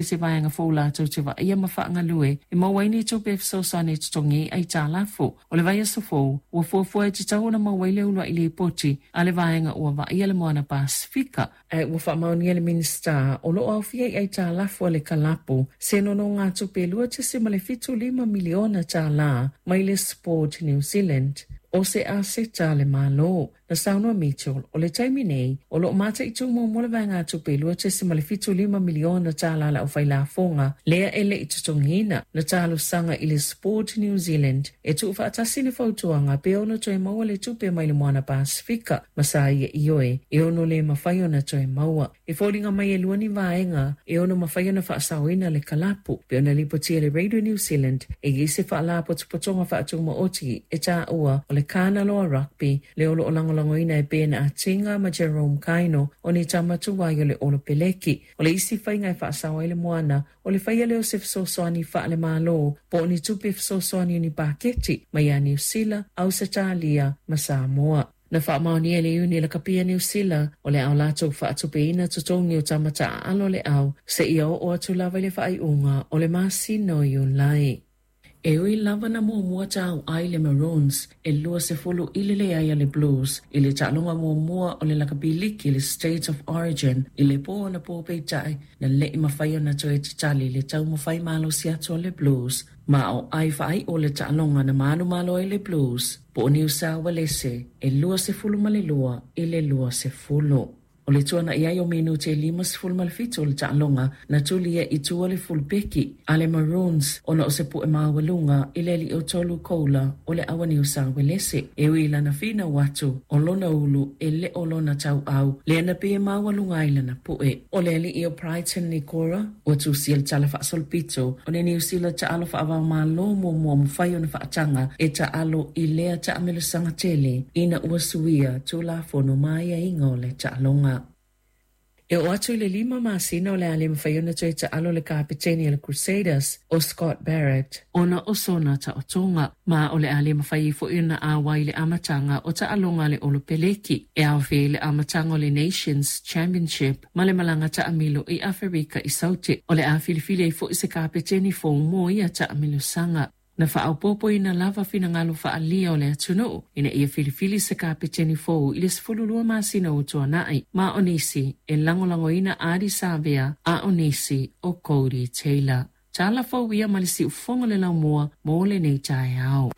Se vaega fou latou te vaaia ma faagalue e maua ai ni tupe e fesoasoani e totogi ai aitalafu. O le vaiaso fou, ua fuafua e tatau ona maua ai le uluai lipoti a le vaega ua vaaia le Moana Pasefika, ae ua faamaonia e le Minisita o lo o aofia i aitalafu a le kalapu se nonogatupe e $2.75 miliona tālā mai le Sport New Zealand, o se aseta a le Malo. Na saunoa Mitchell, o le taimi nei, o lo o mataitu muamua le vaegatupe e $2.75 miliona tālā a le aufailafoga lea e le i totogiina. Na talosaga i le Sport New Zealand e tuufaatasi le fautuaga pe ono toe maua le tupe mai le Moana Pasefika ma sa ia ioe e ono le mafai ona toe maua. E foliga mai e lua ni vaega e ono mafai ona faasaoina le kalapu, pei ona lipotia e le Radio New Zealand e i ai se faalapotopotoga faatumaoti e taua o le Kanaloa Rugby lea o lo o lagolagoina e Ben Atinga ma Jerome Kaino o ni tama tuai o le Olopeleki. O le isi faiga e faasao ai le moana o le faia lea o se fesoasoani faale-Malo po o ni tupe fesoasoani o ni paketi mai ia Niu Sila, Ausetalia ma Samoa. Na faamaonia e le Iuni Lakapi a Niu Sila o le a latou faatupeina totogi o tama taaalo a le au seia oo atu lava i le faaiuga o le masina o Iulai. E ui lava na muamua tauai le Maroons e 20 i le leai a le Blues i le taaloga muamua o le lakapi liki le State of Origin i le po anapo, peitai na le i mafai ona toe tatali le taumafai malosi atu a le Blues. Ma o ai faaiu le taaloga na manumalo ai le Blues po o Niu Sao Uelese e 22 i le 20. O le tuana'i ai o minute e 57 o le taaloga na tulia i tua le fulupeki a le Maroons ona o se pu'e maualuga i le alii o tolu koula o le au a Niu Sao Uelese. E ui i lana finau atu o lona ulu e le o lona tauau lea na pei e maualuga ai lana pu'e. O le alii o Brighton Nikora ua tusia le tala faasolopito o le Niu Sila taalo faava-o-Malo muamua mafai ona faataga e taalo i lea taamilosaga tele ina ua suia Tulafono ma aiaiga o le taaloga. E oo atu i le 5 masina o le a le mafai ona toe taalo le kapeteni a le Crusaders o Scott Barrett ona o sona taotoga, ma o le a le mafai ai foi ona ʻauai i le amataga o taaloga a le Olopeleki e aofia ai le amataga o le Nations Championship ma le malaga taamilo i Aferika i Saute. O le a filifili ai foi se kapeteni fou mo ia taamilosaga. Na faaopoopoina lava finagalo faaalia o le atunuu ina ia filifili se kapeteni fou i le 12 masina ua tuanai, ma o nisi e lagolagoina Ardie Savea a o nisi o Codie Taylor. Tala fou ia ma le siufofoga o le laumua mo lenei taeao.